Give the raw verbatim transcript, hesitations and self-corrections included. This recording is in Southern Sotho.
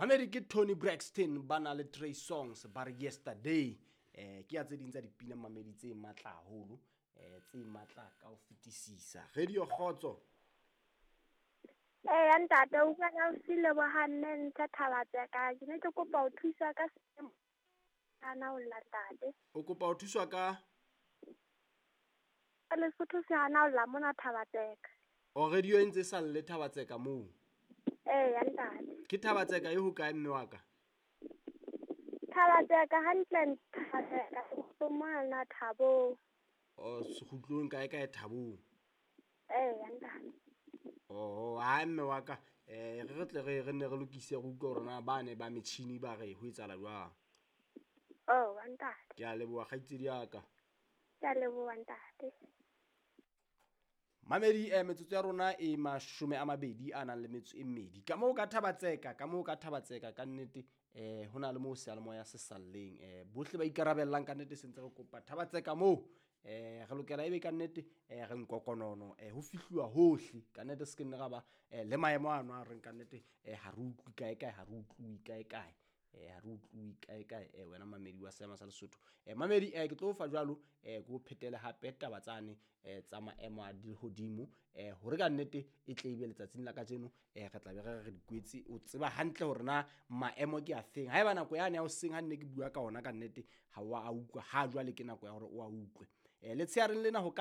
Mamedi, ke Toni Braxton ba na le Trey Songz, ba re Yesterday. um ke ya tse ding tsa dipina, mamedi, tse matla haholo, um tse matla ka ho fetisisa. Radio Kgotso. Eya ntate, o bua ka Lebohang Mme Thabatseka. Ke ne ke kopa ho thuswa ka hana ho lla, ntate. O kopa ho thuswa ka? Ka Lesotho se hana ho lla mona Thabatseka. O radio e ntse e sa lle Thabatseka moo? Eya ntate. Ke Thabatseka e hokae, mme wa ka? Thabatseka hantle, Thabatseka mona Thabong. O sekgutlong kae kae Thabong? Eya ntate. Oh, ha mme wa ka, eh re re tle re re nne re lokise, re utlwe hore na ba ne ba metjhini ba re ho etsahala jwang. Oh ntate. Ke a leboha, kgaitsedi ya ka. Ke a leboha, ntate. Mamedi, eh metsotso ya rona e mashome a mabedi a nang le metso e mmedi. Ka moo ka Thabatseka, ka moo ka Thabatseka ka nnete, eh ho na le moo seyalemoya se salleng. eh Bohle ba ikarabellang ka nnete se ntse re kopa Thabatseka moo, eh re lokela ebe ka nnete eh re nkokonono, eh ho fihluwa hohle ka nnete, se ke nne ra ba le maemo ano a reng ka nnete eh ha re utlwe kae kae, ha re utlwe kae kae, eh ha re utlwe kae kae. eh wena mamedi wa seema sa Lesotho, eh mamedi, eh ke tlo fa jwalo, eh ke o phetele hape taba tsane eh tsa maemo a lehodimo, eh hore ka nnete e tle ebe letsatsing la kajeno eh re tla be re re dikwetse. O tseba hantle hore na maemo ke afeng. Haeba nako yane ya hoseng ha nne ke bua ka ona ka nnete ha wa a utlwa, ha jwale ke nako ya hore o a utlwe. eh Letsheareng lena ho ka